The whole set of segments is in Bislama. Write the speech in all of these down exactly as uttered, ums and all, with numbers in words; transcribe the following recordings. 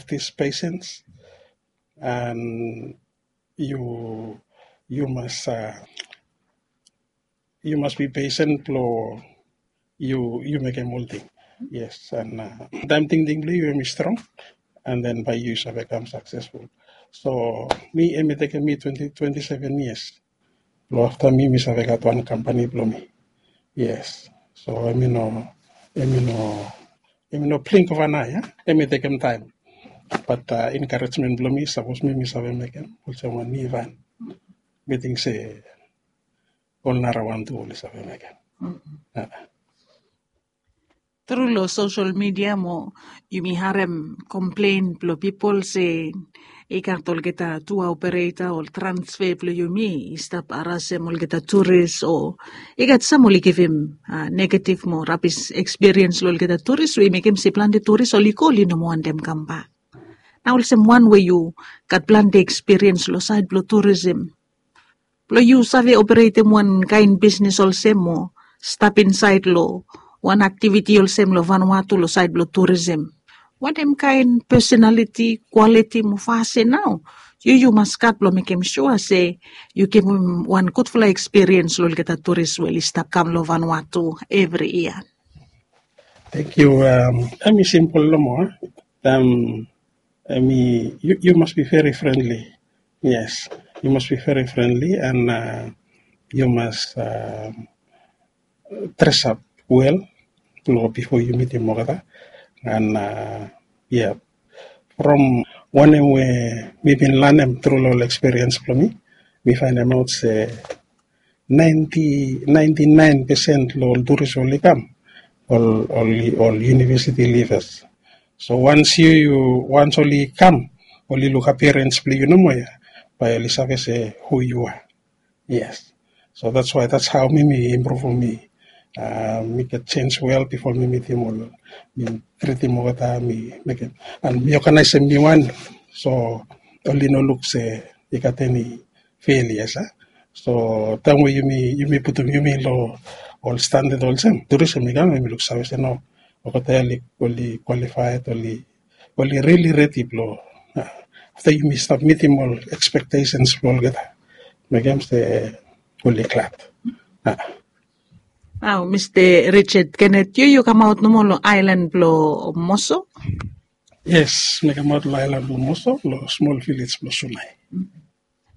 practice patience, and you you must uh, you must be patient blong you you mekem ol ting. Yes, and uh, taem tingting blong you em i strong, and then bae you save kam successful. So mi em i tekem mi twenty twenty seven years. Blong afta mi mi save gat wan kampani blong mi. Yes. So em i no em i no em i no blink ova nao ya. Em i tekem taem. Bat uh, encouragement blong mi sapos mi mi save mekem olsem wan mi van. Mi ting se ol nara wan tu oli save mekem. Tru long sosel midia mo yumi harem komplen blong pipol se i gat olgeta tua opereta ol transfe blong yumi i stap harasem olgeta turis o i gat sam oli givim negetiv mo rabis ekspiriens long olgeta turis we i mekem se plante turis oli go oli no moa wantem kambak. Na olsem wan we yu gat plante ekspiriens long saed blong turisim blong yu save operetem wan kaen bisnis olsem o stap insaed long wan aktiviti olsem long Vanuatu long saed blong turisim. Wanem kaen pesonaliti, kwaliti mo fasin nao yu yu mas gat blong mekem sua se yu givim wan gudfala ekspiriens long olgeta turis we oli stap kam long Vanuatu evri yia? Thank you. Um, em i simpel nomo. Um, em i you, you must be very friendly. Yes, you must be very friendly and uh, you must uh, dress up well blong before you meet him olgeta. And uh, yeah, from wanem we mi bin lanem tru long ol experience blong mi, mi faenem aot se ninety, ninety nine percent long ol turis oli kam ol ol ol university leavers. So once you you once oli kam oli luk appearance blong yu nomo ya, bae oli save se who you are. Yes. So that's why that's how mi mi improve mi uh, mi get change well before mi meetim ol mi treatim olgeta mi mekem and mi organizem mi wan. So oli no luk se i gat eni failures a. So taem we yumi yumi putum yumi long ol standard olsem, tourism i kam yumi luksave se no, olgeta ya oli qualified, oli oli really ready blong afta yumi stap mitim ol expectations blong olgeta, mekem se oli glad. Nao Mista Richard Kenneth, yu yu kamaot nomo long aelan blong Moso? Yes, mi kamaot long aelan blong Moso long smol vilej blong Sunai.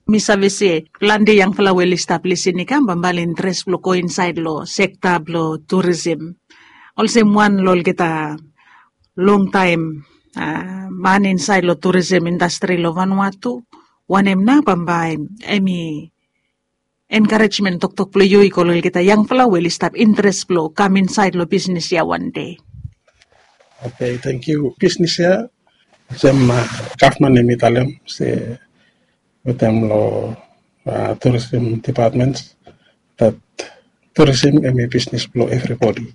Mi save se plante yangfala we oli stap lisin i kam bambae oli interes blong go insaed long sekta blong turisim. Olsem wan long olgeta longtaem man insaed long turisim indastri long Vanuatu, wanem nao bambae em i enkarejmen toktok blong yu i go long olgeta yangfala we oli stap interes blong kam insaed long bisnis ya wan dei? Oke, tangkiu. Bisnis ya olsem gavman em i talem se wetem long turisim depatmen dat turisim em i bisnis blong evribodi.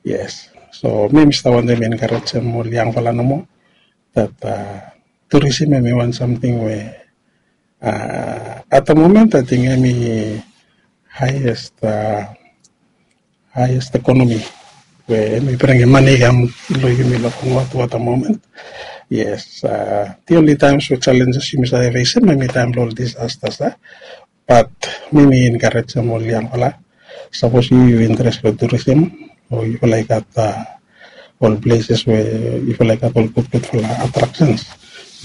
Yes. So mi mi stap wantem enkarejem ol yangfala nomo dat turisim em i wan samting we at the moment ating em i haiest haiest ekonomi we em i bringim mane i kam long yumi long Vanuatu at the moment. Yes. The only times we challenges yumi save fesim em i taem long ol disasters a. Bat mi mi enkarejem ol yangfala, sapos yu yu interes long turisim o yufala i gat ol pleses we yufala i gat ol gudgudfala atraksens,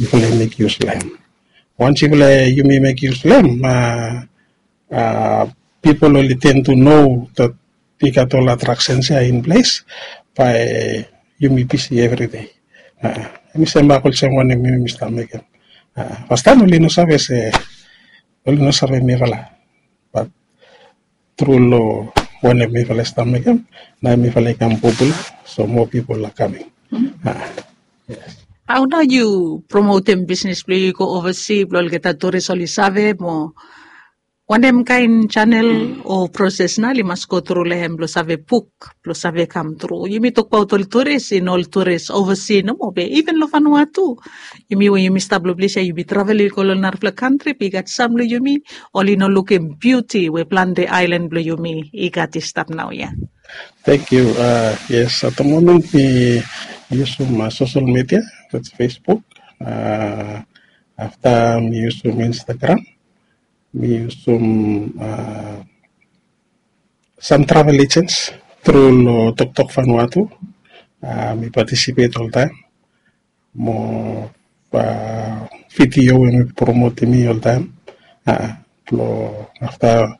yufala i mek yus long em. Wans yufala yumi mek yus long em, pipol oli ten tu no dat i gat ol atraksens ya in ples, bae yumi bisi evridei. Em i sem bak olsem wanem yumi stap mekem. Fastaem oli no save se oli no save mifala, bat tru long wanem mifala i stap mekem, nao mifala i kam popula, so moa pipol are kaming. Hao nao yu promotem bisnis blong yu i go ovasi blong olgeta turis oli save mo wanem kaen janel o proses nao oli mas go tru long hem blong save buk blong save kam tru? Yumi tokbaot ol turis i no ol turis ovasi nomo be iven long Vanuatu, yumi we yumi stap long ples ya yumi travel i go long narafala kantri be i gat sam long yumi oli no lukim biuti we plante aelan blong yumi i gat i stap naoia. Tangkiu. Yes, at the moment mi yusum sosel midia, that's Facebook, Afta mi yusum Instagram, mi yusum sam travel agents tru long Toktok Vanuatu. Mi participate oltaem mo video we mi promotim i oltaem. Blong afta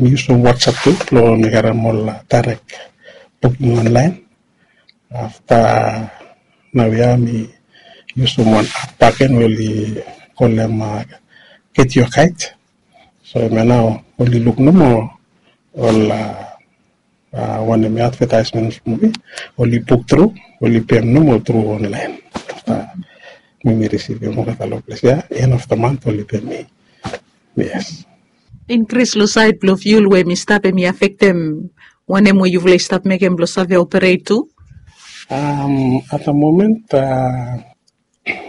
mi yusum WhatsApp tu blong mi karem ol direct booking online. Afta naoia mi yusum wan app bakegen we oli kolem Get Your Guide. So hemia nao oli luk nomo ol wanem advertisement blong mi, oli buk tru, oli pem nomo tru online. Afta mi mi risivim olgeta long ples ya, end of the month oli pem mi. Yes. Inkris long saed blong fuel we mi stap, hemi afektem wanem we yufala i stap mekem blong save operate tu? At the moment,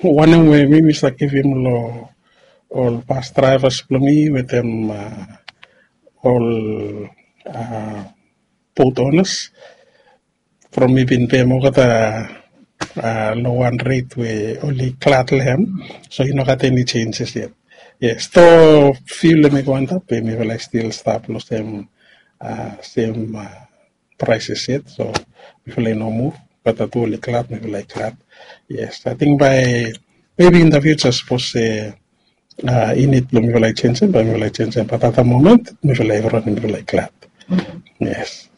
wanem we mi mi save givim long ol bus drivers blong mi wetem ol boat owners, from mi bin pem olgeta long wan rate we oli glad long hem. So i no gat eni changes yet. Yes, though fuel hemi go antap, be mifala i stil stap long sem sem prices yet. So mifala i no move. Olgeta tu oli glad, mifala i glad. Yes, I think by maybe in the future, sapos se i nid blong mifala i jenisim, bae mifala i jenisim, but at the moment mifala i rani, mifala i glad. Yes.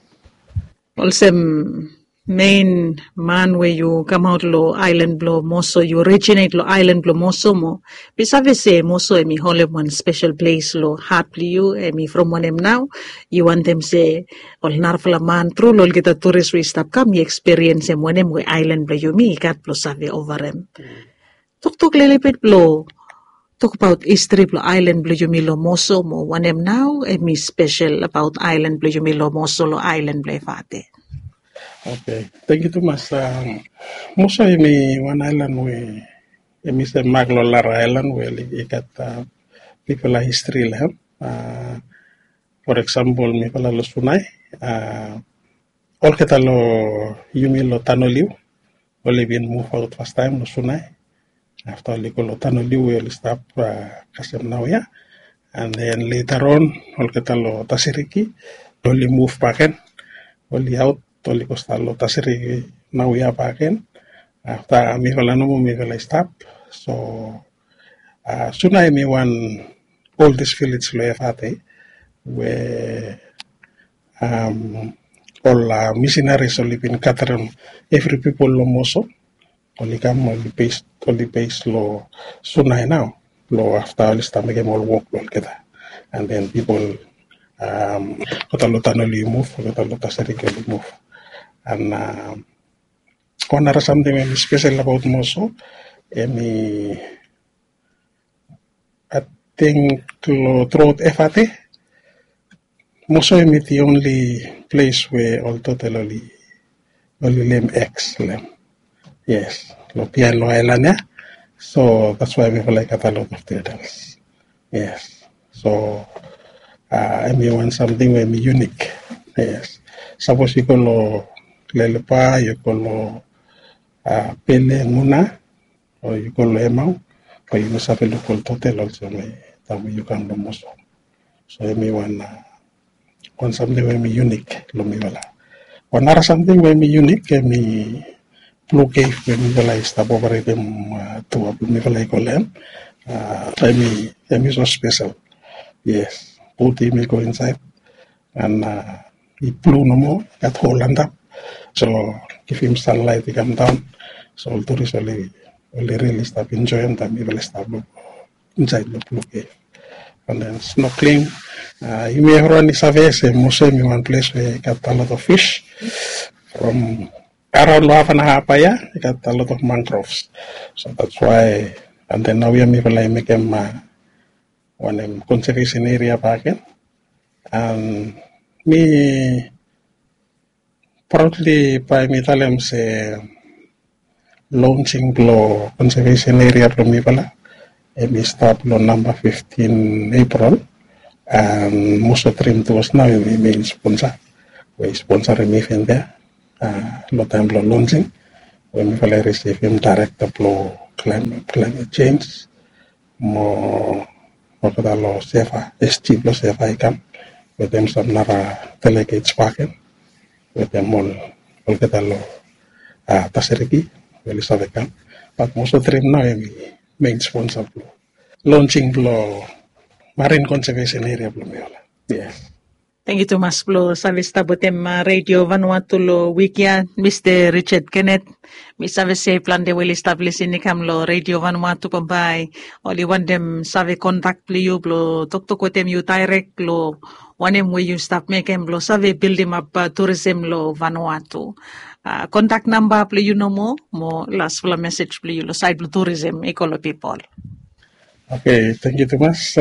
Olsem mein man we yu kamaot long aelan blong Moso, yu originate long aelan blong Moso mo mi save se Moso hemi holem wan spesel ples long hat blong yu. Hemi from wanem nao yu wantem se ol narafala man tru long olgeta turis we i stap kam i ekspiriensem wanem we aelan blong yumi i gat blong save ovarem. Toktok lelebet blong tokbaot histri blong aelan blong yumi long Moso mo wanem nao hemi spesel abaot aelan blong yumi long Moso long aelan blong Efate. Oke, tangkiu tumas. Moso hemi wan aelan we hemi sem mak long lara aelan we i gat bigfala histri long hem. For example, mifala long Sunai, olgeta long yumi long Tanoliu oli bin muvaot fastaem long Sunai. Afta oli go long Tanoliu we oli stap kasem naoia. And then later on olgeta long Tasiriki oli muv bakegen, oli aot, oli go stap long Tasiriki naoia bakegen. Afta mifala nomo mifala i stap. So Sunai hemi wan oldest village long Efate we ol misinaris oli bin gatarem evri pipol long Moso. Oli kam, oli base, oli base long Sunai nao blong afta oli stap mekem ol wok blong olgeta. And then pipol olgeta long Tanoliu i muv, olgeta long Tasiriki oli muv. And wan nara samting we hemi spesel abaot Moso, hemi ating long truaot Efate, Moso hemi the only ples we ol turtle oli oli lem eg long hem. Yes, long biaen long aelan ya. So that's why mifala i gat a lot of turtles. Yes. So hemi wan samting we hemi unique. Yes. Sapos yu go long Lelepa, yu go long Pele, Muna, o yu go long Emau, o yu no save luk ol turtle olsem taem we yu kam long Moso. So hemi wan wan samting we hemi unique long mifala. Wan nara samting we hemi unique hemi Blue Cave we mifala i stap operetem tua blong mifala i go long hem. Hemi hemi so spesel. Yes, bot hemi go insaed and i blu nomo, i gat hol antap. So givim sanlaet i kam daon. So ol turis oli oli rili stap enjoem taem mifala i stap luk insaed long Blue Cave. And then snorkeling, yumi evriwan i save se Moso hemi wan ples we i gat a lot of fish. From araon long Hafanaha bae ya i gat a lot of mangroves. So that's why and then naoia mifala i mekem wanem, conservation area bakegen. And mi proudly bae mi talem se launching blong conservation area blong mifala hemi stap long namba fiftin April. And Moso Dream Tours nao hemi main sponsor we i sponsorem event ya long taem blong launching, we mifala i risivim director blong climate change, mo olgeta long sefa, SG blong sefa i kam wetem sam nara delegates baken wetem ol olgeta long Tasiriki we oli save kam. Bat most of the time nao hemi main sponsor blong launching blong marine conservation area blong miola. Yes. Tangkiu tumas blong save stap wetem Redio Vanuatu long wik ya, Mista Richard Kenneth. Mi save se plante we oli stap lisin i kam long Redio Vanuatu bambae oli wantem save kontak blong yu blong toktok wetem yu daerek long wanem we yu stap mekem blong save bildimap turism long Vanuatu. Kontak namba blong yu nomo mo lasfala mesej blong yu long saed blong turism i go long pipol. Oke, tangkiu tumas.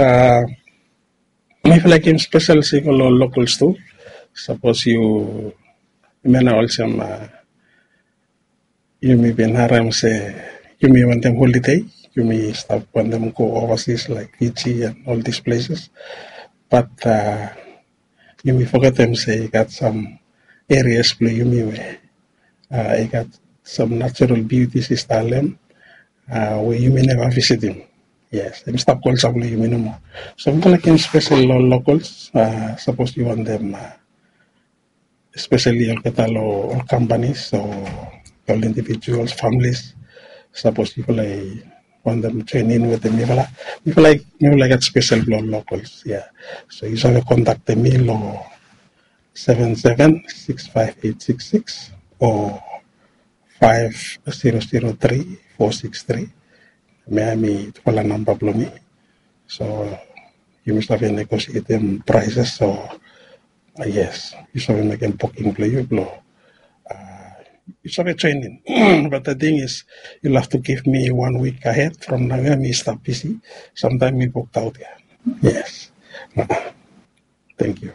Mifala i givim spesel signal long locals tu. Sapos yu mena olsem yumi bin harem se yumi wantem holidei, yumi stap wantem go overseas laik Fiji and all these places. Bat yumi fogetem se i gat sam areas blong yumi we i gat sam natural beauties i stap long hem we yumi neva visitim. Yes, hem i stap go olsem blong yumi nomo. So mifala givim spesel long locals, sapos yu wantem, especially olgeta long ol companies o ol individuals, families, sapos yufala i wantem join in wetem mifala, mifala i gat spesel blong locals ya. So yu save kontaktem mi long seven seven six five eight six six o five zero zero three four six three. Hemia hemi tufala namba blong mi. So yumi save negosietem prices. So yes, yu save mekem buking blong yu blong yu save join in. But the thing is, you'll have to give me one week ahead from now ya. Mi stap bisi. Samtaem mi booked out ya. Yes. Thank you.